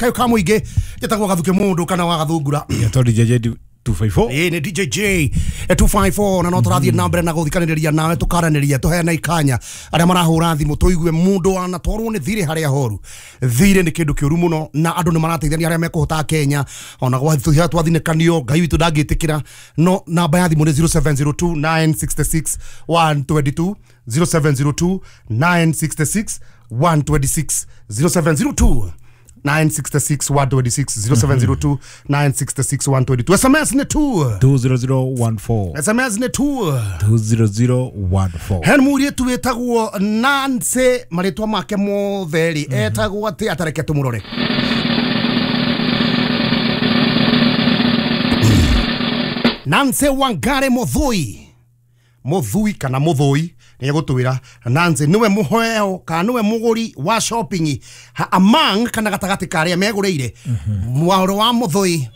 Kayo ka muingi njĩtagwo Gathuke Mundu kana wa Gathungura. Yeto DJ 254. Ĩĩ nĩ DJ 254 na no tũrathiĩ na mbere na gũthikanĩrĩria nawe tũkaranĩria tũheana ikanya arĩa marahũra thimũ tũigue mũndũ wanatwarwo nĩ thirĩ harĩa horu. Thirĩ nĩ kĩndũ kĩũru mũno na andũ nĩ marateithania arĩa mekũhota Kenya ona gwathuhia twathinĩkanio Ngai witũ ndangĩtĩkĩra. No namba ya thimũ nĩ 0702 966 122 0702 966 126 0702 966 126 0702 966 122. SMS ni 2 20014. SMS ni 2 20014. Hen mũirĩtu wĩtagwo Nancy marĩtwa make mothe rĩ etagwo atĩ atareke tũmũrore. Nancy Wangari Muthui. Muthui kana Muthui nĩ egũtwĩra Nancy nĩwe mũheo kana nĩwe mũgũri wa shopping among kana gatagatĩ ka arĩa megũrĩire mwarĩ wa Muthui,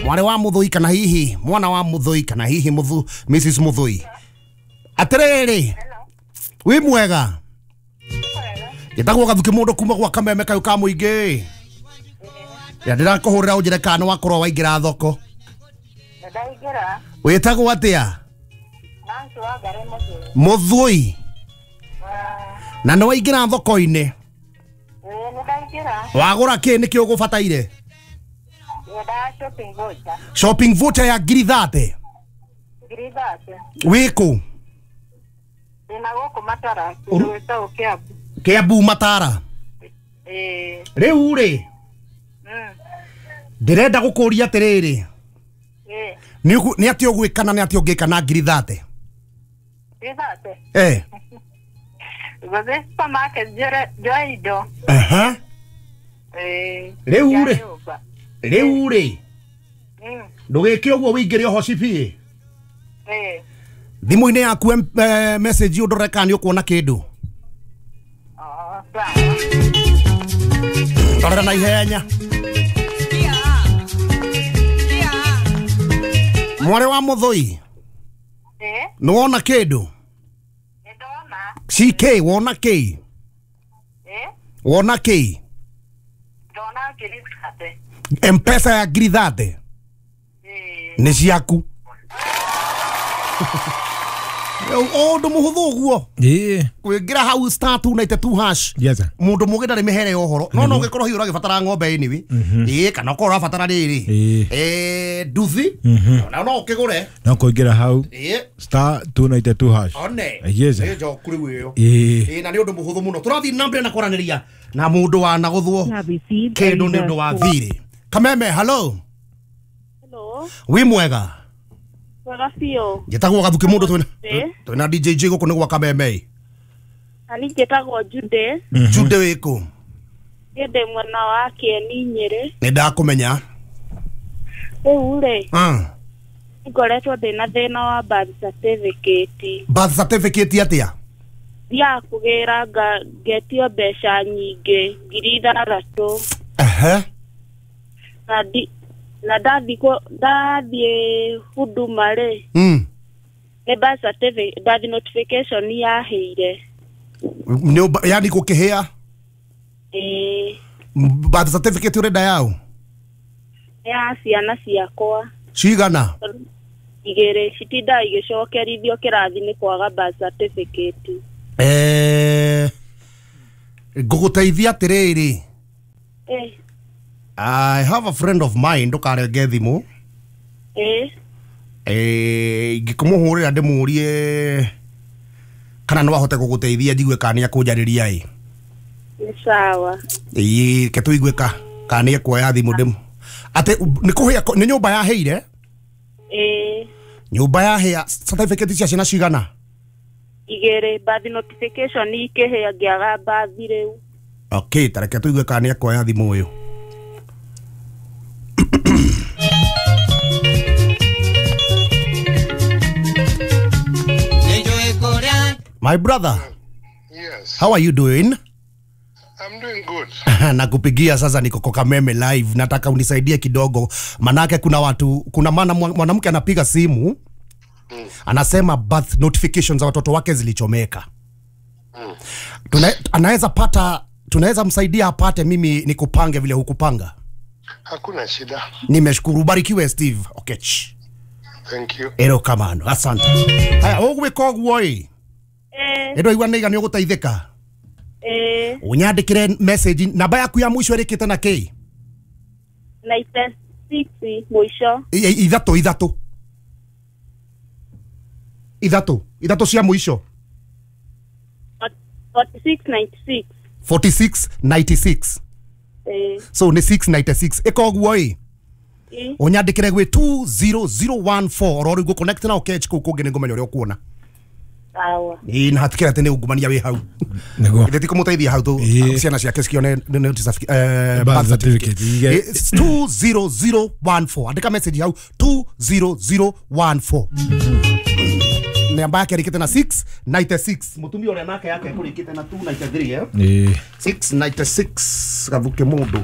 mwarĩ wa Muthui kana hihi mwana wa Muthui kana hihi Muthu Mrs Muthui. Atĩrĩrĩ, wĩ mwega? Njĩtagwo Gathuke Mũndũ kuma gwa Kameme kayũ ka mũingĩ. Ya ndĩrakũhũrĩra ũnjĩre kana nĩ wakorwo waingĩra thoko. Ndaingĩra. Wĩtagwo atĩa? Muthui. Na nĩ waingĩra thoko-inĩ? Wagũra kĩ nĩkĩ ũgũbataire? Shopping voucher ya ngiri 30. Wĩkũ? Kiambu Matara. Rĩu rĩ ndĩrenda gũkũria atĩrĩrĩ, nĩ atĩa ũgwĩka na nĩ atĩa ũngĩka na ngiri 30? Eh. Gũthiĩ supermarket njoe indo. Aha. Rĩu rĩ, rĩu rĩ ndũgĩke ũguo wĩingĩre ũhoci biũ. Thimũ-inĩ yaku message ũndore kana nĩ ũkuona kĩndũ. Ndorera na ihenya. Mwarĩ wa Muthui, nĩ wona kĩndũ? CK wona kĩ? Wona kĩ? M-Pesa ya ngiri 30 nĩ ciaku. Ũndũ mũhũthũ ũguo kwĩngĩra hau star 292 hash. Mũndũ mũgĩ ndarĩ mĩhere ya ũhoro no no ũngĩkorwo hihi ũragĩbatara ng'ombe anyway ĩĩ kana ũkorwo ũrabatara rĩrĩ nduthi na no ũkĩgũre no kũingĩra hau star 292 hash. One yes nĩ njoku rĩu ĩyo ĩĩ na nĩ ũndũ mũhũthũ mũno. Tũrathiĩ na mbere na kwaranĩria na mũndũ wanagũthwo kĩndũ nĩ ũndũ wa thirĩ. Kameme, hello. Hello. Wĩ mwega? Wega biũ. Njĩtagwo Gathuke Mũndũ twĩna DJ J gũkũ nĩ gwa Kameme. Ani njĩtagwo Jude. Jude wĩkũ? Niĩ ndĩ mwena wa Kĩeni Nyĩrĩ. Nĩ ndakũmenya. Rĩu rĩ, ngoretwo ndĩna thĩna wa birth certificate. Birth certificate atĩa? Thiaga kũgĩra ngetio mbeca nyingĩ ngiri 6. Ehe. Na ndathiĩ Huduma rĩ, nĩ birth certificate birth notification yahĩire. Yani gũkĩhĩa? Ĩĩ. Birth certificate ũrenda yaũ? Ya ciana ciakwa. Cigana? 2 citindaga igĩcokerithio kĩrathi nĩ kwaga birth certificate. Ngũgũteithia atĩrĩrĩ. I have a friend of mine ndũkarenge thimũ. Ingĩkũmũhũrĩra ndĩmũrie kana no ahote gũgũteithia njigue kana nĩ akũnjarĩria ĩ. Nĩ sawa. Ĩĩ reke tũigue kana nĩ ekuoya thimũ ndĩmũ. Atĩ nĩ kũhĩa nĩ nyũmba yahĩire? Ĩĩ. Nyũmba yahĩa certificate cia ciana cigana? 2 birth notification ikĩhĩa ngĩaga birth rĩu. Okay, tareke tũigue kana nĩ ekuoya thimũ ũyũ. My brother. Yes. How are you doing? I'm doing good. Nakupigia sasa niko kwa Kameme live. Nataka unisaidie kidogo. Manake kuna watu, kuna mwanamke anapiga simu. Anasema birth notifications za watoto wake zilichomeka. Anaweza pata, tunaweza msaidia apate mimi nikupange vile hukupanga. Hakuna shida. Nimeshukuru, ubarikiwe Steve Okech. Thank you. Erokamano, asante. Haya, ũgwĩka ũguo ĩ. Ĩndo igua nĩ igana ũgũteithĩka. Ũnyandĩkĩre message namba yaku ya mũico ĩrĩkĩte na kĩ? 96 mũico. Ithatũ ithatũ. Ithatũ, ithatũ cia mũico. 4696. 4696. So ni 696. Ĩka ũguo ĩ. Ũnyandĩkĩre gwĩ 20014 oro rĩu ngũ-connect na Okech kũu kũngĩ nĩngũmenya ũrĩa ũkuona. Sawa. Ĩĩ na hatikĩra atĩ nĩ ungumania wĩ hau. Nĩguo. Ithe ti kũmũteithia hau tu ciana ciake cione birth certificate. It's 20014. Andĩka message hau 20014. Namba yake ĩrĩkĩte na 696. Mũtumia ũrĩa nake yake ĩkũrĩkĩte na 293 eh? 696 gathuke mũndũ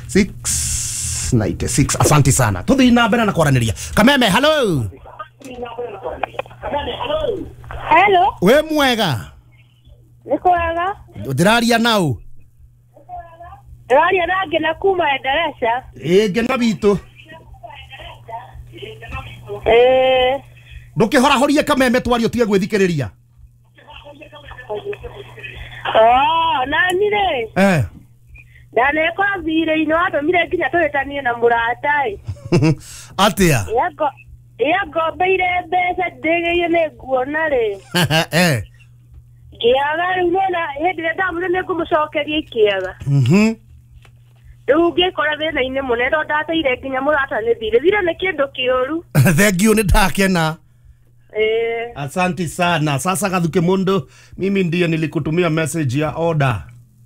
696. Asante sana. Tuthi na mbere na kwaranĩria. Kameme, hello. Hello. We mwega. Nĩ kwega. Ndĩraria nau. Ndĩraria na Ngina kuma Endereca. Ĩ Ngina witũ. Ndũkĩhorahorie Kameme twario tige gwĩthikĩrĩria. Oh, nani rĩ? Ndanekora thirĩ-inĩ watũmire nginya tũhĩtanie na mũrata ĩ. Atĩa? Ĩangombeire mbeca ndĩgĩire nĩ nguona rĩ. Ngĩaga rĩu nĩwona hĩndĩ ĩrĩa ndamwĩrire nĩngũmũcokeria ikĩaga. Rĩu ngĩkora thĩna-inĩ mũnene tondũ ndateire nginya mũrata nĩ thirĩ. Thirĩ nĩ kĩndũ kĩũru. Thank you, nĩ ndakena. Asante sana. Sasa Gathuke Mundu, mimi ndiye nilikutumia message ya order.